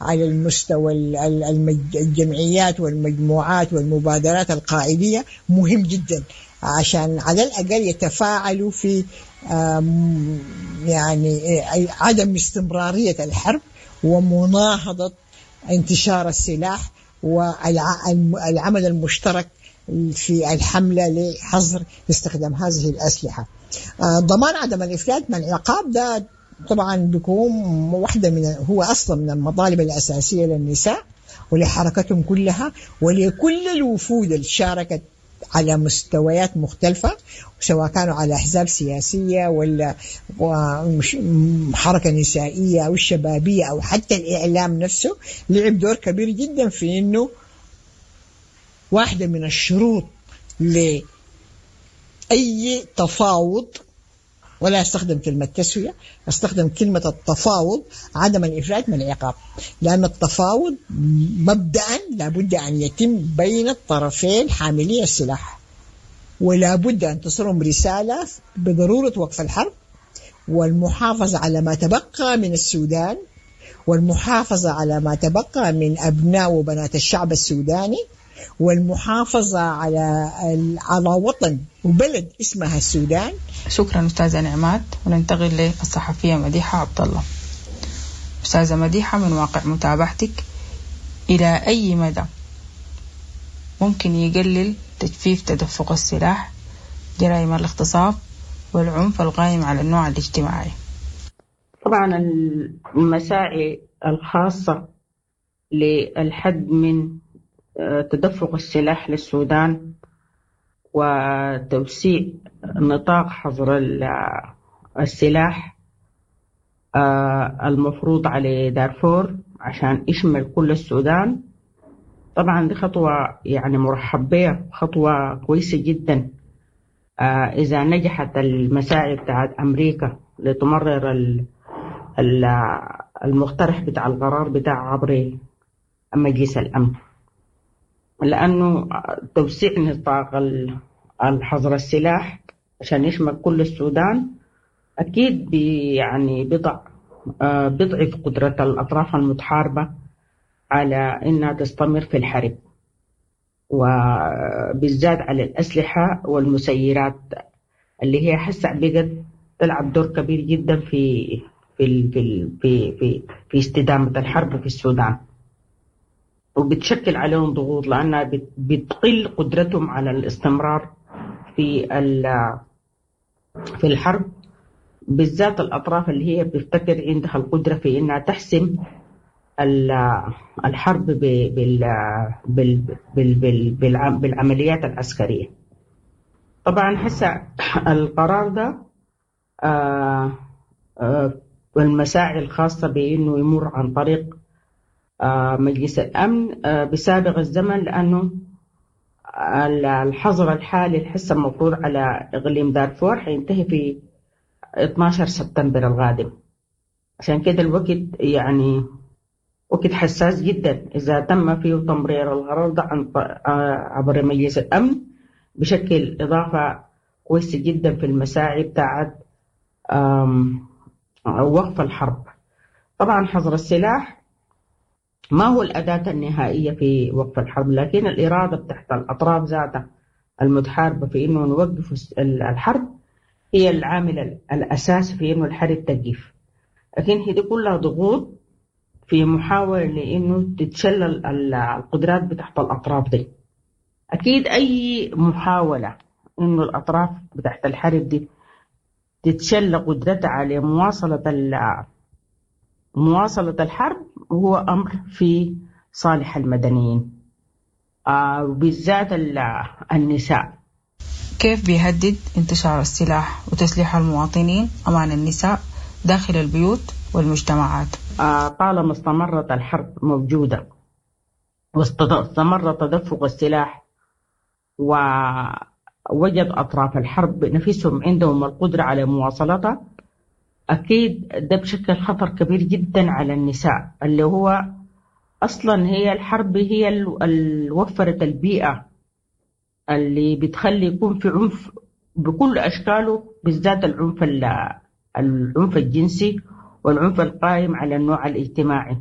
على المستوى الجمعيات والمجموعات والمبادرات القاعدية مهم جدا، عشان على الأقل يتفاعلوا في يعني عدم استمرارية الحرب ومناهضة انتشار السلاح والعمل المشترك في الحملة لحظر استخدام هذه الأسلحة. ضمان عدم الإفلات من العقاب ده طبعا بيكون واحدة من هو أصلا من المطالب الأساسية للنساء ولحركتهم كلها ولكل الوفود اللي شاركت على مستويات مختلفة، سواء كانوا على أحزاب سياسية ولا حركة نسائية أو شبابية أو حتى الإعلام نفسه، لعب دور كبير جدا في إنه واحدة من الشروط لأي تفاوض، ولا أستخدم كلمة تسوية، أستخدم كلمة التفاوض، عدم الإفلات من العقاب، لأن التفاوض مبدأ لابد أن يتم بين الطرفين حاملي السلاح، ولا بد أن تصلهم رسالة بضرورة وقف الحرب والمحافظة على ما تبقى من السودان، والمحافظة على ما تبقى من أبناء وبنات الشعب السوداني، والمحافظة على وطن وبلد اسمها السودان. شكرا أستاذة نعمات. وننتقل للصحفية مديحة عبد الله. أستاذة مديحة، من واقع متابعتك، إلى أي مدى ممكن يقلل تجفيف تدفق السلاح جرائم الاغتصاب والعنف القائم على النوع الاجتماعي؟ طبعا المساعي الخاصة للحد من تدفق السلاح للسودان وتوسيع نطاق حظر السلاح المفروض على دارفور عشان يشمل كل السودان، طبعا دي خطوة مرحب بها، خطوة كويسة جدا. إذا نجحت المساعي بتاعت أمريكا لتمرر المقترح بتاع القرار بتاع عبر مجلس الأمن، لأنه توسيع نطاق الحظر السلاح عشان يشمل كل السودان أكيد بيضعف قدرة الأطراف المتحاربة على إنها تستمر في الحرب، وبالذات على الأسلحة والمسيرات اللي هي حسع بقت تلعب دور كبير جدا في استدامة الحرب في السودان، وبتشكل عليهم ضغوط لأنها بتقل قدرتهم على الاستمرار في الحرب، بالذات الأطراف اللي هي بتفتكر عندها القدرة في إنها تحسم الحرب بالعمليات العسكرية. طبعا هسه القرار ده والمساعي الخاصة بإنه يمر عن طريق مجلس الأمن بسابق الزمن، لأنه الحظر الحالي الحسه المفروض على إقليم دارفور حينتهي في 12 سبتمبر القادم. عشان كده الوقت وقت حساس جدا. إذا تم فيه تمرير القرار ده عبر مجلس الأمن بشكل إضافة كويسة جدا في المساعي بتاعت وقف الحرب. طبعا حظر السلاح ما هو الأداة النهائية في وقف الحرب، لكن الإرادة بتاعت الأطراف ذاتها المتحاربة في إنه نوقف الحرب هي العامل الأساسي في إنه الحرب تقف. لكن هي دي كلها ضغوط في محاولة لإنه تتشلل القدرات بتاعت الأطراف دي. أكيد أي محاولة إنه الأطراف بتاعت الحرب دي تتشل قدرتها على مواصلة الحرب هو أمر في صالح المدنيين، وبالذات النساء. كيف بيهدد انتشار السلاح وتسليح المواطنين أمان النساء داخل البيوت والمجتمعات؟ طالما استمرت الحرب موجودة واستمر تدفق السلاح ووجد أطراف الحرب نفسهم عندهم القدرة على مواصلتها، أكيد ده بشكل خطر كبير جدا على النساء، اللي هو أصلا هي الحرب هي اللي وفرت البيئة اللي بتخلي يكون في عنف بكل أشكاله، بالذات العنف الجنسي والعنف القائم على النوع الاجتماعي.